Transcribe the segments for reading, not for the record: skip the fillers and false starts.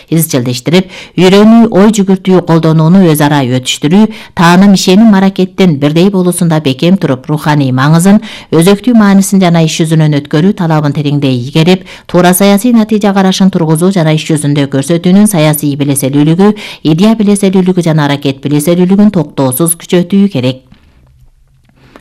изчилдештирип, үйрөнүү, ой жүгүртүү, колдонууну өз ара өтүштүрүү, тааным, ишеним, аракеттин бирдей болуусунда бекем туруп, руханий маңызын, өзөктүү маанисин жана иш жүзүнөн өткөрүү талабын тереңдей игерип, туура саясий натыйжа карашын тургузуу жана иш жүзүндө көрсөтүүнүн саясий билеселүүлүгү, идея билеселүүлүгү жана аракет билеселүүлүгүн токтоосуз күчөтүү керек.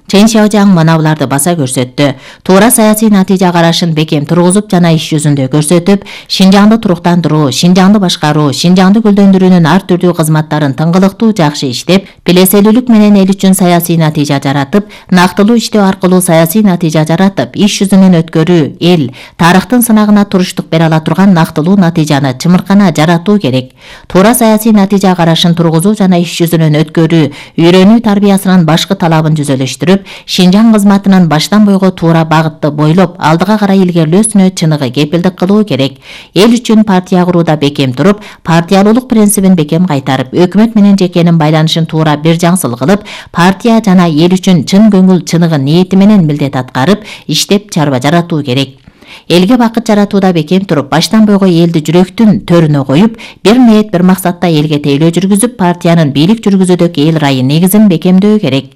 Чен Шяожаң манабыларды баса көрсөттү. Туура саясий натыйжа карашын бекем тургузуп жана иш жүзүндө көрсөтүп, Шинжаңды туруктандыруу, Шинжаңды башкаруу, Шинжаңды гүлдөндүрүүнүн ар түрдүү кызматтарын тыңгылыктуу жакшы иштеп, билеселүүлүк менен эл үчүн саясий натыйжа жаратып, нактылуу иштөө аркылуу саясий натыйжа жаратып, иш жүзүнөн өткөрүү, эл, тарыхтын сынагына туруштук бере ала турган нактылуу натыйжаны чымыркана жаратуу керек. Туура саясий натыйжа карашын тургузуу жана иш жүзүнөн өткөрүү, үйрөнүү тарбиясынын башкы талабын жүзөлөштүрүп, Шинжаң кызматынын баштан бойго туура багытты бойлоп, алдыга карай илгерилөөсүнө чыныгы кепилдик кылуу керек. Эл үчүн партия курууда бекем туруп, партиялуулук принцибин бекем кайтарып, өкмөт менен жекенин байланышын туура бир жаңсыл кылып, партия жана эл үчүн чын көңүл, чыныгы ниети менен милдет аткарып, иштеп чарба жаратуу керек. Элге бакыт жаратууда бекем туруп, баштан бойго элди жүрөктүн төрүнө коюп, бир ниет, бир максатта элге тейлөө жүргүзүп, партиянын бийлик жүргүзүүдөгү эл ырайы негизин бекемдөө керек.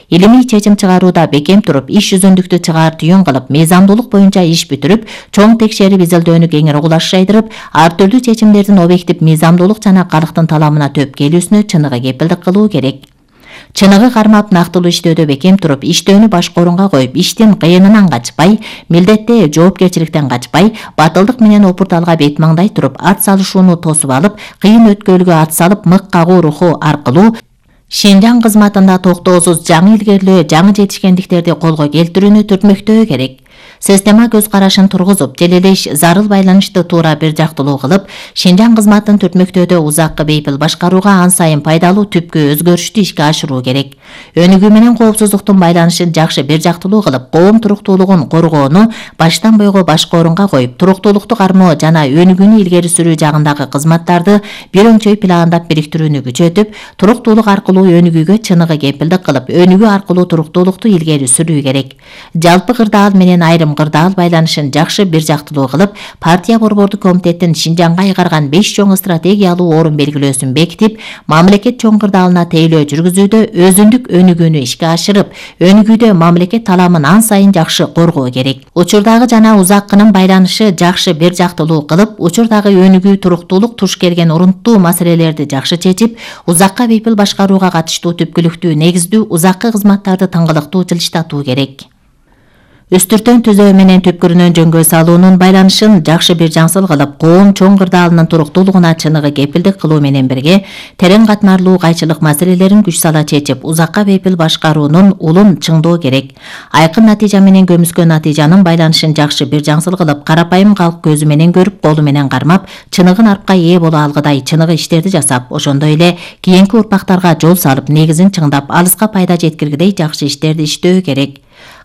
Илимий чечим чыгарууда бекем туруп, иш жүзүндүктү чыгаар түйүн кылып, мыйзамдуулук боюнча иш бүтүрүп, чоң текшерип изилдөөнү кеңири угулаш жайдырып, ар түрдүү чечимдердин объектив мыйзамдуулук жана калктын таламына төп келүүсүнө чыныгы кепилдик кылуу керек. Чыныгы кармап, нактылуу иштөөдө бекем туруп, иштөөнү башка орунга коюп, иштин кыйынынан качпай, милдетте жоопкерчиликтен качпай, батылдык менен опурталга бет маңдай туруп, ат салышууну тосуп алып, кыйын өткөлгө ат салып, мык кагуу руху аркылуу Шинжаң кызматында токтоосуз жаңы илгерилөө, жаңы жетишкендиктерди колго келтирүүнү түртмөктөө керек. Система көз карашын тургузуп, желелеш, зарыл байланышты туура бир жактылуу кылып, Шинжаң кызматын түртмөктөөдө узаккы бейпил башкарууга ан сайын пайдалуу түпкү өзгөрүштү ишке ашыруу керек. Өнүгүү менен коопсуздуктун байланышын жакшы бир жактылуу кылып, коом туруктуулугун коргоону баштан бойго башка орунга коюп, туруктуулукту кармоо жана өнүгүүнү илгери сүрүү жагындагы кызматтарды бир өңчөй пландап бириктирүүнү күчөтүп, туруктуулук аркылуу өнүгүүгө чыныгы кепилдик кылып, өнүгүү аркылуу туруктуулукту илгери сүрүү керек. Жалпы кырдаал менен айрым кырдаал байланышын жакшы бир жактылуу кылып, партия борбордук комитеттин Шинжаңга айгарган 5 чоң стратегиялуу орун белгилөөсүн бекитип, мамлекет чоң кырдаалына тейлөө жүргүзүүдө өзүндүк өнүгүүнү ишке ашырып, өнүгүүдө мамлекет таламын ан сайын жакшы коргоо керек. Учурдагы жана узаккынын байланышы жакшы бир жактылуу кылып, учурдагы өнүгүү, туруктуулук туш келген урунттуу маселелерди жакшы чечип, узакка бейпил башкарууга катыштуу түпкүлүктүү, негиздүү, узаккы кызматтарды тыңгылыктуу жылыштатуу керек. Үстүртөн түзөө менен түпкүрүнөн жөнгө салуунун байланышын жакшы бир жаңсыл кылып, коом чоң кырдаалынын туруктуулугуна чыныгы кепилдик кылуу менен бирге, терең катмарлуу кайчылык маселелерин күч сала чечип, узакка бейпил башкаруунун улун чыңдоо керек. Айкын натыйжа менен көмүскө натыйжанын байланышын жакшы бир жаңсыл кылып, карапайым калк көзү менен көрүп, колу менен кармап, чыныгы нарпка ээ боло алгыдай чыныгы иштерди жасап, ошондой эле кийинки урпактарга жол салып, негизин чыңдап, алыска пайда жеткиргидей жакшы иштерди иштөө керек.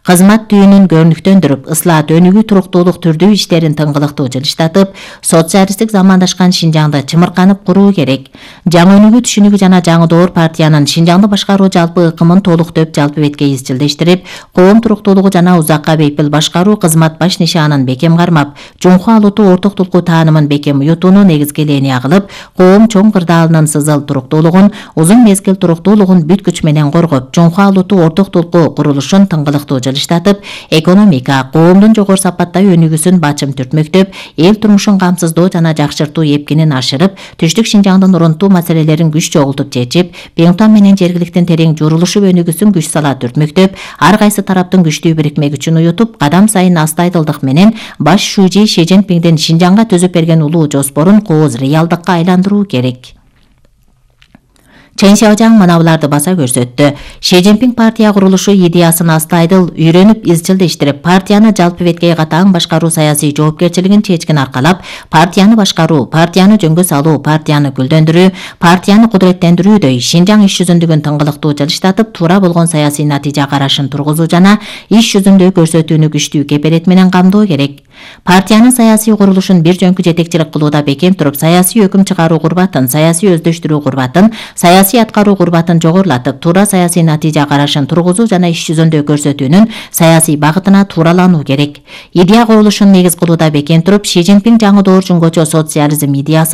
Кызмат түйүнүн көрүнүктөндүрүп, ыслаат, өнүгүү, туруктуулук түрдүү иштерин тыңгылыктуу жылыштатып, социалисттик замандашкан Шинжаңды чымырканып куруу керек. Жаңы өнүгүү түшүнүгү жана жаңы доор партиянын Шинжаңды башкаруу жалпы ыкымын толуктоп, жалпы бетке изчилдештирип, коом туруктуулугу жана узакка бейпил башкаруу кызмат баш нишанын бекем кармап, жумху алууту орток тулкуу таанымын бекем уютууну негизги линия кылып, коом чоң кырдаалынын сызыл туруктуулугун, узун мезгил туруктуулугун бүт күч менен коргоп, жумху алууту орток тулкуу курулушун тыңгылыктуу жылыштатып, экономика, коомдун жогору сапаттай өнүгүүсүн бачым түртмөктөп, эл турмушун камсыздоо жана жакшыртуу эпкинин ашырып, түштүк Шинжаңдын урунттуу маселелерин күч чогултуп чечип, Пеңтан менен жергиликтин терең журулушуп өнүгүүсүн күч сала түртмөктөп, ар кайсы тараптын күчтүү бирикме күчүн уютуп, кадам сайын астайдылдык менен баш шүүжи Ши Цзиньпиңдин Шинжаңга түзүп берген улуу жоспорун кооз реалдыкка айландыруу керек. Чен Шяожаң манабыларды баса көрсөттү. Ши Цзиньпиң партия курулушу идеясын астайдыл үйрөнүп, изчилдештирип, партияны жалпы бетке катаң башкаруу саясий жоопкерчилигин чечкин аркалап, партияны башкаруу, партияны жөнгө салуу, партияны гүлдөндүрүү, партияны кудуреттендирүүдөй Шинжаң иш жүзүндүгүн тыңгылыктуу жылыштатып, туура болгон саясий натыйжа карашын тургузуу жана иш жүзүндө көрсөтүүнү күчтүү кепелет менен камдоо керек. Партиянын саясий курулушун бир жөнкү жетекчилик кылууда бекем туруп, саясий өкүм чыгаруу курбатын, саясий өздөштүрүү курбатын, саясий аткаруу курбатын жогорулатып, туура саясий натыйжа карашын тургузуу жана иш жүзүндө көрсөтүүнүн саясий багытына тууралануу керек. Идея коюлушун негиз кылууда бекем туруп, Ши Цзиньпин жаңы доор жөнгөчө социализм идеясы